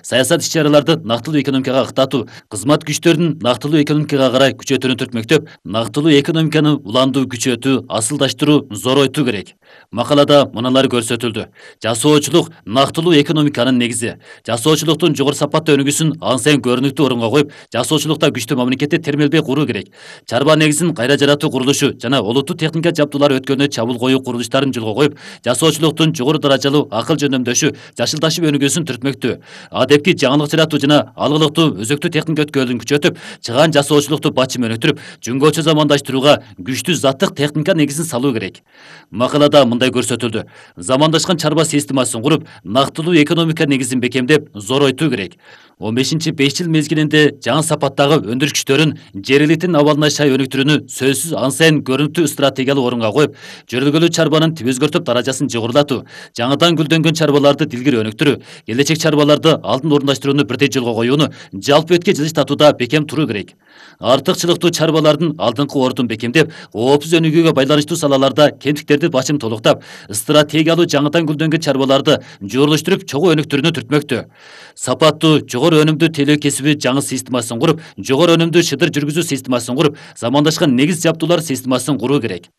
саясат иш-чараларды нактылуу экономикага ыктатуу, кызмат күчтөрүн нактылуу экономикага карай күчөтүүнү түртмөктөп, нактылуу экономиканы уландуу, күчөтүү, асылдаштыруу, зоройтуу керек. Макалада мыналар көрсөтүлдү. Жасоочулук нактылуу экономиканын негизи. Жасоочулуктун жогору сапаттуу өнүгүүсүн ан сайын көрүнүктүү орунга коюп, жасоочулукта күчтүү мамлекетти термелбей куруу керек. Чарба негизин кайра жаратуу курулушу жана олуттуу техника жабдуулар өткөнү чабуул коюу курулуштарын жолго коюп, жасоочулуктун жогору даражалуу акыл жөндөмдөшү, жашылдашып өнүгүүсүн түртмөктүү. Адепки жаңылык жаратуу жана алгылыктуу өзөктүү техника өткөрүүнү күчөтүп, чыгаан жасоочулукту бачым өнүктүрүп, жөнгөчө замандаштырууга күчтүү заттык техника негизин салуу керек. Макалада мындай көрсөтүлдү. Замандашкан чарба системасын куруп, нактылуу экономика негизин бекемдеп, зоройтуу керек. 15-5 жыл мезгилинде жаңы сапаттагы өндүрүш күчтөрүн жер элитинин абалына шай өнүктүрүүнү сөзсүз ан сайын көрүнүктүү стратегиялуу орунга коюп, жөргөлүү чарбанын тип өзгөртүп даражасын жогорулатуу, жаңыдан гүлдөнгөн чарбаларды дилгири өнүктүрүү, келечек чарбаларды алдын орундаштырууну бирдей жолго коюуну жалпы этке жылыштатууда бекем туруу керек. Артыкчылыктуу чарбалардын алдыңкы ордун бекемдеп, коопсуз өнүгүүгө байланыштуу салаларда кемтиктерди бачым толуктап, стратегиялуу жаңыдан гүлдөнгөн чарбаларды жуурулуштуруп, чогуу өнүктүрүүнү түртмөктүү. Сапаттуу, жогору өнүмдүү тейлөө кесиби жаңы системасын куруп, жогору өнүмдүү шыдыр жүргүзүү системасын куруп, замандашкан негиз жабдуулар системасын куруу керек.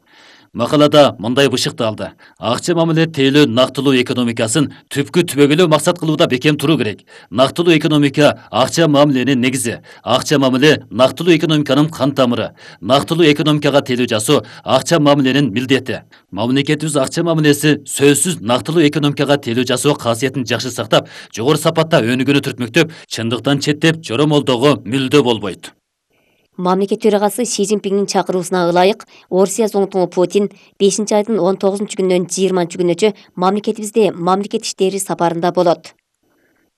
Макалада мындай бышыкталды. Акча мамиле тейлөө нактылуу экономикасын түпкү түбөгөлөө максат кылууда бекем туруу керек. Нактылуу экономика акча мамиленин негизи. Акча мамиле нактылуу экономиканын кан тамыры. Нактылуу экономикага тейлөө жасоо акча мамиленин милдети. Мамлекетибиз акча мамилеси сөзсүз нактылуу экономикага тейлөө жасоо касиетин жакшы сактап, жогору сапатта өнүгүүнү түртмөктөп, чындыктан четтеп, жоромолдоого мүлдө болбойт. Мамлекет төрагасы Си Цзиньпиндин чакыруусуна ылайык, Орусия зоңтуңу Путин 5-айдын 19-күнүнөн 20-күнүнчө мамлекетибизде мамлекет иштери сапарында болот.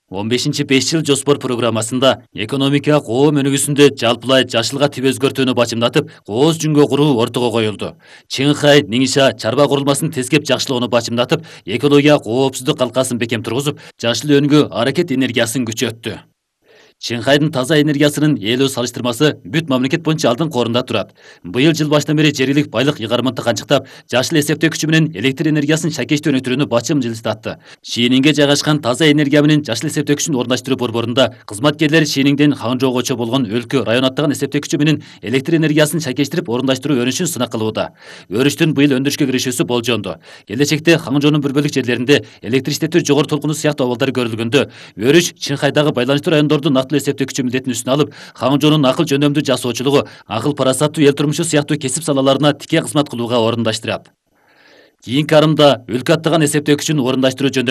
15-5 жыл жоспор программасында экономика коом өнүгүүсүндө жалпылай жашылга тип өзгөртүүнү бачымдатып, кооз жүнгө куруу ортого коюлду. Чыңхай, Нingxia чарба курулмасын тескеп жакшылоону бачымдатып, экология коопсуздук калкасын бекем тургузуп, жашыл өнүгүү аракет энергиясын күчөттү. Чыңхайдын таза энергиясынын ээлөө салыштырмасы бүт мамлекет боюнча алдыңкы орунда турат. Быйыл жыл башынан бери жергилик байлык ыйгарымын канчыктап, жашыл эсептөөкүчү менен электр энергиясын шакештүү өнүктүрүүнү бачым жылыстатты. Шининге жайгашкан таза энергия менен жашыл эсептөөкүчүн орундаштыруу борборунда кызматкерлер Шиниңден Хаңжоогочо болгон өлкө район аттаган эсептөөкүчү менен электр энергиясын шакештирип орундаштыруу өнүшүн сынак кылууда. Өрүштүн быйыл өндүрүшкө киришүүсү болжонду. Келечекте Хаңжоонун бир бөлүк жерлеринде электр иштетүү жогору толкуну сыяктуу абалдар көрүлгөндө, өрүш Чыңхайдагы байланыштуу райондордун эсептөөкүчү милдетин үстүнө алып, Хаңжоонун акыл жөндөмдүү жасоочулугу, акыл парасаттуу эл турмушу сыяктуу кесип салаларына тике кызмат кылууга орундаштырат. Кийинки арымда өлкө аттаган эсептөөкүчүн орундаштыруу жөндөмү